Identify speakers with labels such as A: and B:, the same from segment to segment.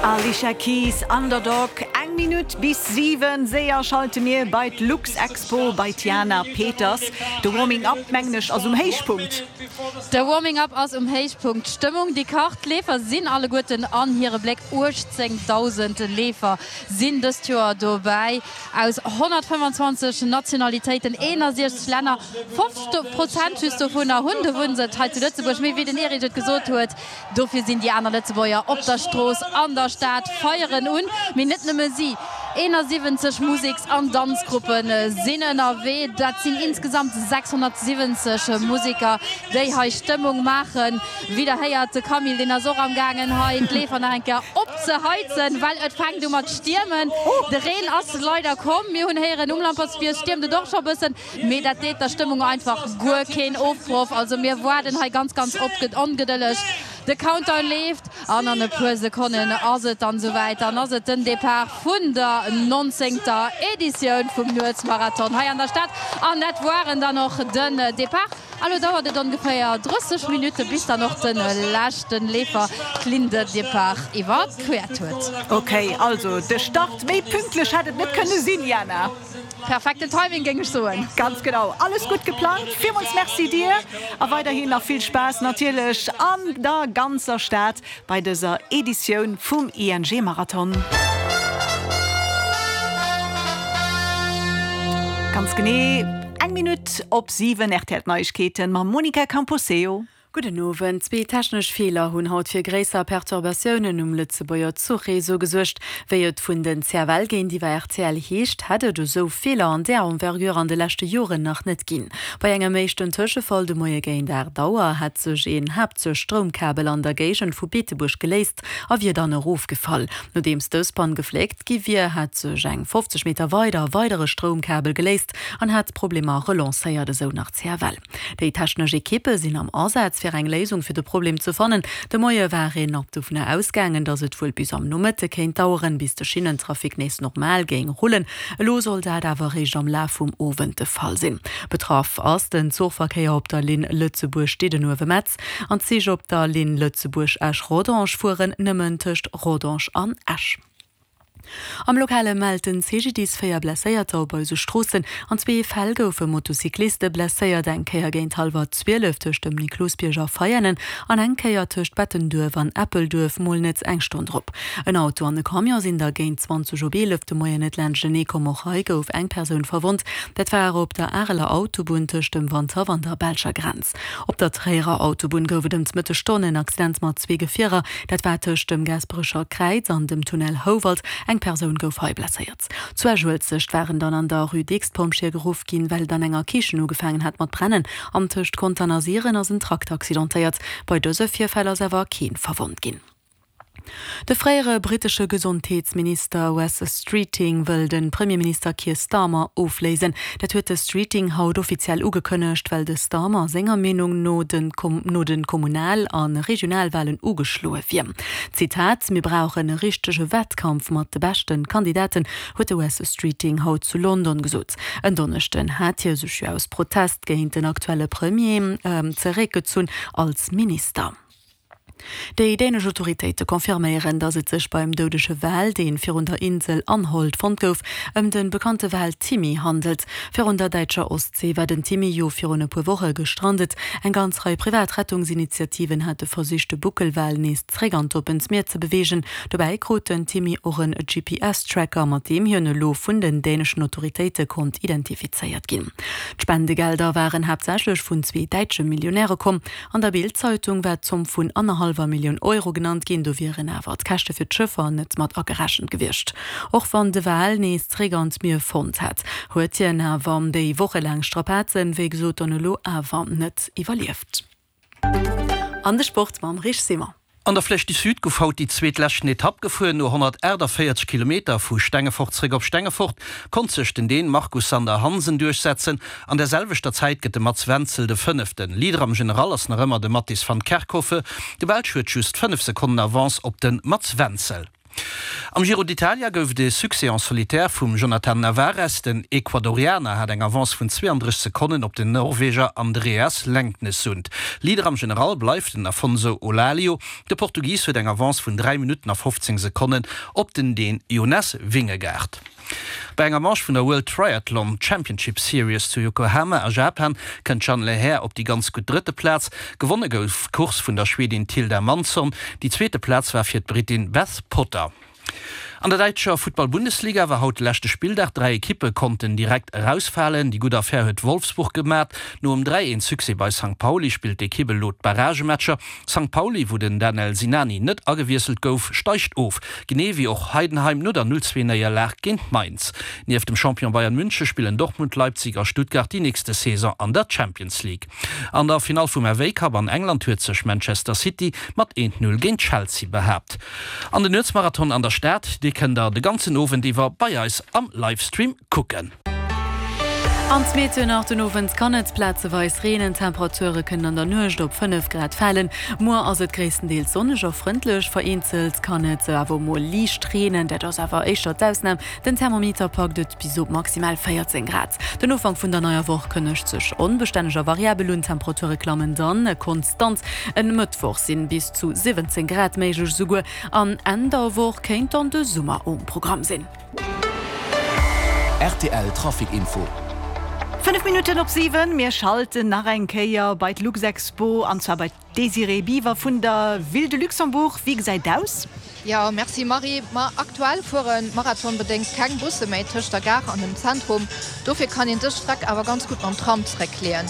A: Alicia Keys, Underdog, Eng Minutt bis 7, séier schalte mir bei d'Luxexpo bei d'Jana Peters. De Warming Up, mengen ech, ass um Héichpunkt.
B: De Warming Up ass um Héichpunkt. D'Stëmmung déi kacht, d'Leefer sinn alleguerten an hire Bléck. 18.000 Leefer sinn dëst Joer dobäi, aus 125 Nationalitéiten, 61 Länner. 50 Prozent just dovunner hunn de Wunnsëtz hei zu Lëtzebuerg. Mee wéi den Erich et gesot huet, Dofir sinn déi aner Lëtzebuerger op der Strooss an der Stad, feieren un. Mee net nëmme si, 71 Museks an Danzgruppe sinn ënnerwee. Dat sinn insgesamt 670 Museker, déi hei Stëmmung maachen. Wéi der héiert, de Camille, deen ass och am gaangen hei d'Leefer nach eng Kéier opzeheizen, well et fänkt u mat stiermen. De Reen ass leider komm. Mir hunn héieren, um Lampertsbierg stiermt et och scho bëssen. Mee dat deet der Stëmmung einfach guer keen Ofbroch. Also mir waarden hei ganz ganz ongedëlleg. De Countdown leeft an an e puer Sekonnen ass et dann souwäit. Dann ass et den Depart vun der nonzéngter Editioun vum Nuetsmarathon hei an der Stad. An dat waren dann och den Depart. A lo dauert et ongeféier 30 Minutte bis dann och de leschte Leefer d'Ligne de départ iwwerquert huet.
A: Ok, also de Start, méi pünktlech hätt et net kënne sinn, Jana.
B: Perfekten Timing géing ech soen.
A: Ganz genau, alles gutt geplangt. Villmools Merci dir a weiderhin nach vill Spaass natierlech an der ganzer Stad bei dëser Editioun vum ING Marathon. Ganz genee eng Minutt op 7, rtl Neiegkeeten mam Monica Camposeo.
C: Gudden Owend. Zwee technesch Feeler hunn haut fir gréisser Perturbatiounen um Lëtzebuerger Zuchreseau gesuergt. Wéi et vun den CFL géintiwwer rtl heescht, hätt et esou Feeler an där Envergure an de leschte Joren nach net ginn. Bei engem éischten Tëschefall de Moie géint 8 Auer hätt sech een Haaptzuchstroumkabel an der Géigend vu Beetebuerg geléist a wier dann erofgefall. Nodeems dës Pann gefléckt gi wier, hätt sech eng 50 Meter weider e weidere Stroumkabel geléist an hätt d'Problemer relancéiert, esou nach d'CFL. Déi technesch Ekippe sinn am Asaz, fir eng Léisung fir de Problem ze fannen. De Moie war een nach dovunner ausgaangen, datt et wuel bis am Nomëtte kéint daueren, bis de Schinnentrafic nees normal géing rullen. Elo soll dat awer eréischt am Laf vum Owend de Fall sinn. Betraff ass den Zuchverkéier op der Linn Lëtzebuerg-Diddenuewe-Metz an d'Zich op der Linn Lëtzebuerg-Esch-Rodange fueren nëmmen tëscht Rodange an Esch. Am Lokale mellt den CGDIS 4 Blesséierter op eise Stroossen. An zwee Fäll goufe Motocycliste blesséiert, eng Kéier géint hallwer 12 tëscht dem Niklosbierg a Veianen an eng Kéier tëscht Bettenduerf an Eppelduerf, mol net eng Stonn drop. En Auto an e Camion sinn da géint 20 op 11 de Moien net laanschtenee komm. Och hei gouf eng Persoun verwonnt. Dat war op der Areler Autobunn tëscht dem Wandhaff an der belscher Grenz. Op der Tréierer Autobunn gouf et ëm d'Mëttesstonn en Accident mat zwee Gefierer. Dat war tëscht dem Gaasperecher Kräiz an dem Tunnel Houwald. Eng Persoun gouf hei blesséiert. Zu Esch-Uelzecht waren dann an der Rue Dicks d'Pompjeeë geruff ginn, well et an enger Kichen ugefaangen hat mat brennen. An tëscht Contern a Siren ass en Trakter accidentéiert. Bei dëse Virfäll ass awer kee verwonnt ginn. De fréiere brittesche Gesondheetsminister Wes Streeting wëll de Premierminister Keir Starmer ofléisen. Dat huet de Streeting haut offiziell ugekënnegt, well de Starmer senger Meenung no den no de Kommunal a Regionalwalen ugeschloe wier. Zitat, Mir brauchen e richtege Wettkampf mat de beschte Kandidaten, huet de Wes Streeting haut zu London gesot. En Donneschden hat hie sech jo aus Protest géint den aktuelle Premier zeréckgezunn als Minister. Déi dänesch Autoritéite confirméieren, datt et sech beim doudege Wal, dee virun der Insel Anholt fonnt gouf, ëm de bekannte Wal Timmy handelt. Virun der däitscher Ostsee war den Timmy jo virun e puer Woche gestrandet. Eng ganz Rei privat Rettungsinitiativen hate versicht, de Buckelwal nees zeréck an d'oppent Mier ze beweegen. Dobäi krut den Timmy och en GPS-Tracker, mat deem hien elo vun den däneschen Autoritéite konnt identifizéiert ginn. D'Spendegelder waren haaptsächlech vun zwee däitsche Millionäre komm. An der Bild-Zeitung war d'Zomm vun annerhallwer Millioun Euro genannt ginn, do wieren awer d'Käschte fir d'Schëffer net mat agerechent gewiescht. Och wann de Wal nees zeréck an d'Mier fonnt hat, huet hien awer déi wochelaang Strapazen, wéi gesot, dann elo awer net iwwerlieft. An de Sport mam Rich Simon.
D: An der Flèche du Sud gouf haut déi zweet leschten Etapp gefuer. No 148 Kilometer vu Stengefort zeréck op Stengefort konnt sech den Dän Markus Sander Hansen duerchsetzen. An der selwechter Zäit gëtt de Mats Wenzel de Fënneften. Leader am General ass nach ëmmer de Mattis van Kerkhove. De Belsch huet just 5 Sekonnen Avance op de Mats Wenzel. Am Giro d'Italia gouf et e Succès en solitaire vum Jhonatan Narvaez. Den Ecuadorianer hat eng Avance vun 32 Sekonnen op den Norweger Andreas Leknessund. Leader am General bleift den Afonso Eulalio. De Portugis huet eng Avance vun 3 Minutten a 15 Sekonnen op den Dän Jonas Vingegaard. Bei enger Manche vun der World Triathlon Championship Series zu Yokohama a Japan kënnt d'Jeanne Lehair op déi ganz gutt drëtte Plaz. Gewonne gouf d'Course vun der Schwedin Tilda Mansson. Déi zweete Plaz war fir d'Brittin Beth Potter. An der däitscher Futtball-Bundesliga war haut de leschte Spilldag. 3 Ekippe konnten direkt erausfalen. Déi gutt Affär huet Wolfsburg gemat. Nom 3, 1 Succès bei Sankt Pauli spillt d'Ekipp elo d'Barragematcher. Sankt Pauli, wou den Danel Sinani net agewiesselt gouf, steigt of, genee wéi och Heidenheim no der 0, 2 Néierlag géint Mainz. Nieft dem Champion Bayern München spillen Dortmund, Leipzig a Stuttgart déi nächste Saison an der Champions League. An der Finall vum FA Cup an England huet sech Manchester City mat 1, 0 géint Chelsea behaapt. An den Nuetsmarathon an der Stad, dee kënnt der de ganzen Owend iwwer bei eis am Livestream kucken.
C: An d'Meteo nach, Den Owend kann et plazeweis reenen, d'Temperature kënnen an der Nuecht op 5 Grad falen. Muer ass et gréisstendeels sonneg a frëndlech, vereenzelt kann et awer mol liicht reenen, dat ass awer éischter d'Ausnam. Den Thermometer packt et bis op maximal 14 Grad. Den Ufank vun der neier Woch kënnegt sech onbestänneg a variabel un, d'Temperature klammen dann konstant. En Mëttwoch sinn bis zu 17 Grad méiglech, esouguer an Enn der Woch kéint dann de Summer um Programm sinn.
E: Rtl Trafic Info.
A: 5 Minutten op 7, mir schalten nach eng Kéier bei d'Luxexpo an zwar bei d'Désirée Biver vun der Ville de Luxembourg. Wéi gesäit et aus?
F: Jo, merci Marie. Ma aktuell fuere marathonbedéngt keng Busse méi tëscht der Gare an dem Zentrum. Dofir kann een dës Streck awer ganz gutt mam Tram zeréckleeën.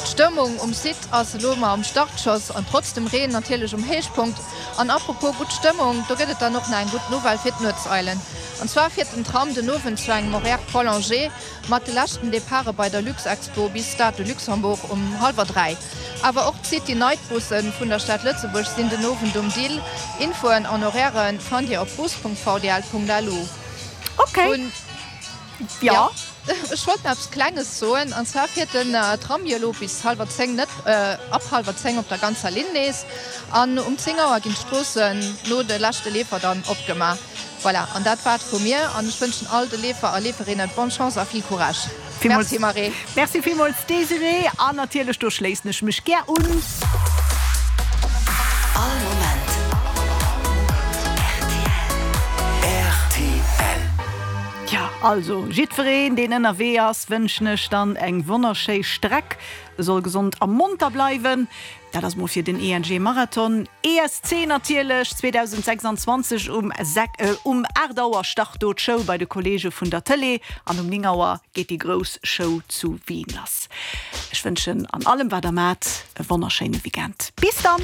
F: D'Stëmmung um Site ass elo mar am Startschoss an trotz dem Reen natierlech um Héichpunkt. An apropos gutt Stëmmung, do gëtt et dann och nach eng gutt Nouvelle fir d'Nuetseilen. An zwar fiert den Tram den Owend zu engem Horaire prolongé mat de leschten Departe bei der Luxexpo bis Stade de Luxembourg um hallwer 3. Awer och d'City Night Busse vun der Stad Lëtzebuerg sinn den Owend um Dill. Infoen an Horairen fannt Dir op bus.vdl.lu.
A: Ok. Jo.
F: Ech wollt nach eppes Klenges soen, an zwar fiert den Tram jo elo bis hallwer 10 net, ab hallwer 10 op der ganzer Linn nees, an um 10 Auer ginn d'Stroossen no de leschte Leefer dann opgemaach. Voilà, an dat war et vu mir, an ech wënschen all de Leefer a Leeferinnen bonne Chance a vill Courage. Merci Marie.
A: Merci villmools Désirée, an natierlech do schléissen ech mech gär un.
E: All Moment rtl.
A: Tja, also jiddwereen deen ënnerwee ass, wënschen ech dann eng wonnerschéi Streck, e soll gesond a monter bleiwen. Dat ass mol fir den ENG Marathon ESC natierlech 2026 um um 8 Auer start do d'Show bei de Kollege vun der Tëlee an um 9 Auer geet déi grouss Show zu Wien lass. Ech wënschen an allem wat der mat e wonnerschéine Weekend. Bis dann!